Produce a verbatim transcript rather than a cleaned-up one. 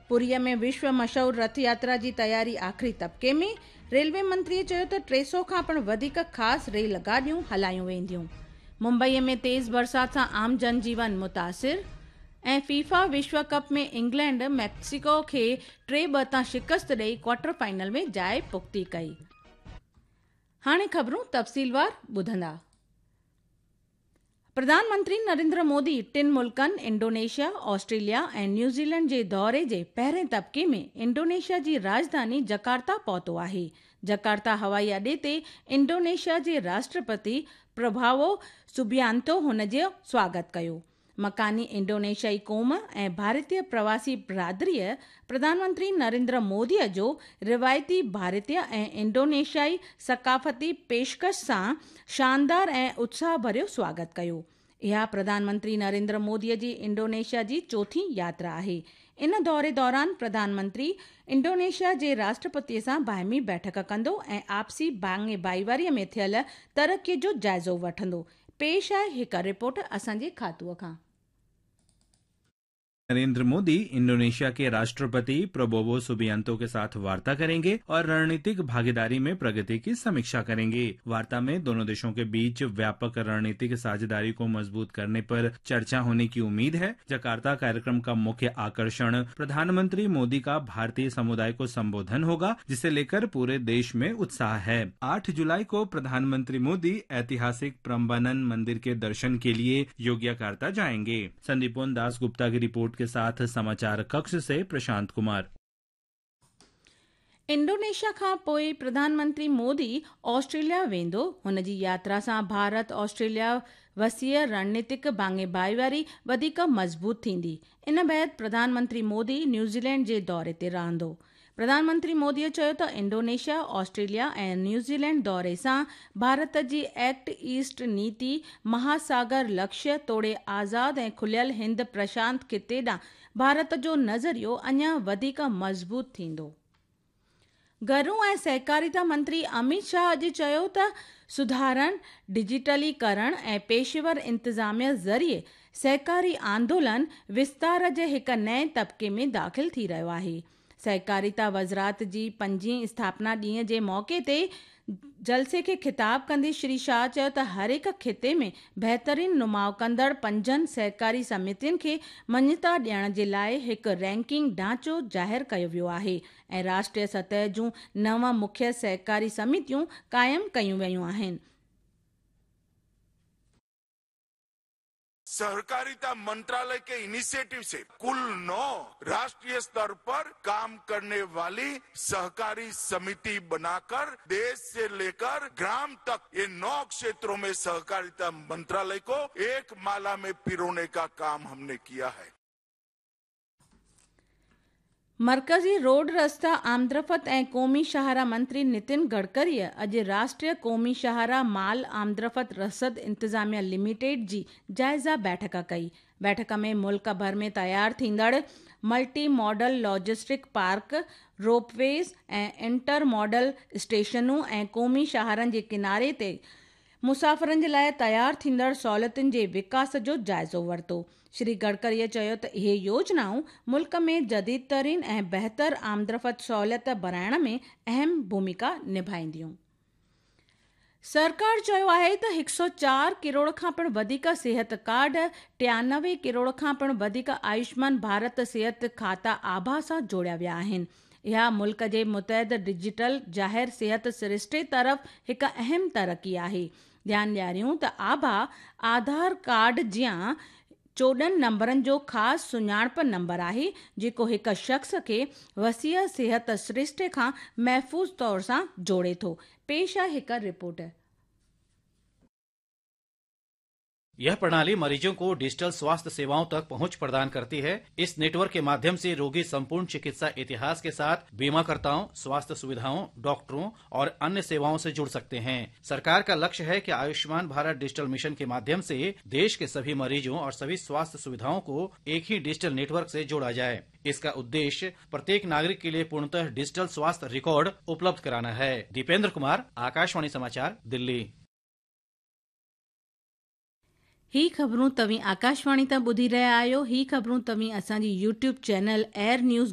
پوريءَ ۾ وشو مشهور رٿ ياترا جي تياري آخري طبقي ۾، ريلوي منتريءَ چيو ته ٽي سؤ کان پڻ وڌيڪ خاص ريل گاڏيون هلايون وينديون. ممبئيءَ ۾ تيز برسات سان عام جنجيون متاثر ۽ فيفا وشو ڪپ ۾ انگلينڊ ميڪسيڪو کي ٽي ٻه تان شڪست ڏئي ڪوارٽر فائنل ۾ جاءِ پختي ڪئي. هاڻي خبرون تفصيلوار ٻڌندا. پرڌان منتري نريندر مودي ٽن ملڪن انڊونيشيا، آسٽريليا ۽ نيوزيلينڊ جي دوري جي پهرين طبقي ۾ انڊونيشيا جي راڄڌاني جڪارتا پهتو آهي. جڪارتا هوائي اڏي تي انڊونيشيا جي راشٽرپتي پرڀاوو سبيانتو هن جو سواگت ڪيو. مڪاني انڊونيشيائي قوم ۽ ڀارتيه پرواسي برادريءَ پرڌان منتري نريندر موديءَ جو روايتي ڀارتيه ۽ انڊونيشيائي ثقافتي پيشڪش سان شاندار ۽ اتساهه ڀريو سواگت ڪيو. اها پرڌان منتري نريندر موديءَ جي انڊونيشيا جي چوٿين ياترا آهي. ان دوري دوران پرڌان منتري انڊونيشيا جي راشٽرپتيءَ سان باهمي بيٺڪ ڪندو ۽ آپسي ڀاڱي ڀائيواريءَ ۾ ٿيل ترقيءَ جو جائزو وٺندو. پيش آهي هڪ رپورٽ اسان جي کاتوءَ کان. नरेंद्र मोदी इंडोनेशिया के राष्ट्रपति प्रबोवो सुबियांतो के साथ वार्ता करेंगे और रणनीतिक भागीदारी में प्रगति की समीक्षा करेंगे। वार्ता में दोनों देशों के बीच व्यापक रणनीतिक साझेदारी को मजबूत करने पर चर्चा होने की उम्मीद है। जकार्ता कार्यक्रम का मुख्य आकर्षण प्रधानमंत्री मोदी का भारतीय समुदाय को संबोधन होगा, जिसे लेकर पूरे देश में उत्साह है। आठ जुलाई को प्रधानमंत्री मोदी ऐतिहासिक प्रम्बनन मंदिर के दर्शन के लिए योग्याकार्ता जाएंगे। संदीपोन दास गुप्ता की रिपोर्ट के साथ समाचार कक्ष से प्रशांत कुमार। इंडोनेशिया खां पोइ प्रधानमंत्री मोदी ऑस्ट्रेलिया वेंदो। हुन जी यात्रा सां भारत ऑस्ट्रेलिया वसीअ रणनीतिक भाङे भाईवारी वधीक मज़बूत थींदी। इन बाद प्रधानमंत्री मोदी न्यूज़ीलैंड जे दौरे ते रहंदो। प्रधानमंत्री मोदीअ चयो त इंडोनेशिया, ऑस्ट्रेलिया ऐं न्यूज़ीलैंड दौरे सां भारत जी एक्ट ईस्ट नीति, महासागर लक्ष्य तोड़े आज़ाद ऐं खुलियल हिंद प्रशांत खिते ॾांहुं भारत जो नज़रियो अञा वधीक मज़बूत थींदो। घरू ऐं सहकारिता मंत्री अमित शाह अॼु चयो त सुधारनि, डिजिटलीकरण ऐं पेशेवर इंतिज़ामिया ज़रिए सहकारी आंदोलन विस्तार जे हिकु नएं तबिके में दाख़िल थी रहियो आहे। सहकारिता वज़ारत जी पंजीं स्थापना ॾींहं जे मौक़े ते जलसे खे ख़िताब कंदे श्री शाह चयो त हर हिकु खिते में बहितरीन नुमाउ कंदड़ पंजनि सहकारी समितियुनि खे मञता ॾियण जे लाइ हिकु रैंकिंग ढांचो ज़ाहिर कयो वियो आहे ऐं राष्ट्रीय सतह जूं नव मुख्य सहकारी समितियूं क़ाइमु कयूं वयूं आहिनि। सहकारिता मंत्रालय के इनिशिएटिव से कुल नौ राष्ट्रीय स्तर पर काम करने वाली सहकारी समिति बनाकर देश से लेकर ग्राम तक ये नौ क्षेत्रों में सहकारिता मंत्रालय को एक माला में पिरोने का काम हमने किया है। मरकज़ी रोड रस्ता आमदरफ़्त ऐं क़ौमी शाहराह मंत्री नितिन गडकरीअ अॼु राष्ट्रीय क़ौमी शाहराह माल आमदरफ़्त रसद इंतिज़ामिया लिमिटेड जी जाइज़ा बैठक कई। बैठक में मुल्क भर में तयार थींदड़ multi modal logistic park, ropeways ऐं इंटर मॉडल स्टेशनूं ऐं क़ौमी शाहरनि जे किनारे ते मुसाफ़िरनि जे लाइ तयार थींदड़ सहूलियतुनि जे विकास जो जाइज़ो वरितो। श्री गडकरीअ चयो त इहे योजनाऊं मुल्क में जदीद तरीन ऐं बहितर आमदरफ़्त सहूलियत बणाइण में अहम भूमिका निभाईंदियूं। सरकार चयो आहे त हिकु सौ चार करोड़ खां पिणु वधीक सेहत कार्ड, टियानवे करोड़ खां पिणु वधीक आयुष्मान भारत सेहत खाता आभा सां जोड़िया विया आहिनि। इहा मुल्क जे मुतहद डिजिटल ज़ाहिर सेहत सरिश्ते तरफ़ हिकु अहम तरक़ी आहे। ध्यानु ॾियारियूं त आभा आधार कार्ड जीअं चोॾहं नंबरनि जो ख़ासि सुञाणप नंबर आहे, जेको हिकु शख़्स खे वसीअ सेहत सरिश्ते खां महफ़ूज़ तौर सां जोड़े थो। पेश आहे हिकु रिपोर्ट। यह प्रणाली मरीजों को डिजिटल स्वास्थ्य सेवाओं तक पहुंच प्रदान करती है। इस नेटवर्क के माध्यम से रोगी संपूर्ण चिकित्सा इतिहास के साथ बीमाकर्ताओं, स्वास्थ्य सुविधाओं, डॉक्टरों और अन्य सेवाओं से जुड़ सकते हैं। सरकार का लक्ष्य है कि आयुष्मान भारत डिजिटल मिशन के माध्यम से देश के सभी मरीजों और सभी स्वास्थ्य सुविधाओं को एक ही डिजिटल नेटवर्क से जोड़ा जाए। इसका उद्देश्य प्रत्येक नागरिक के लिए पूर्णतः डिजिटल स्वास्थ्य रिकॉर्ड उपलब्ध कराना है। दीपेंद्र कुमार, आकाशवाणी समाचार, दिल्ली। ही ख़बरूं तव्हीं आकाशवाणी तां ॿुधी रहिया आहियो। ही ख़बरूं तव्हीं असांजी यूट्यूब चैनल एयर न्यूज़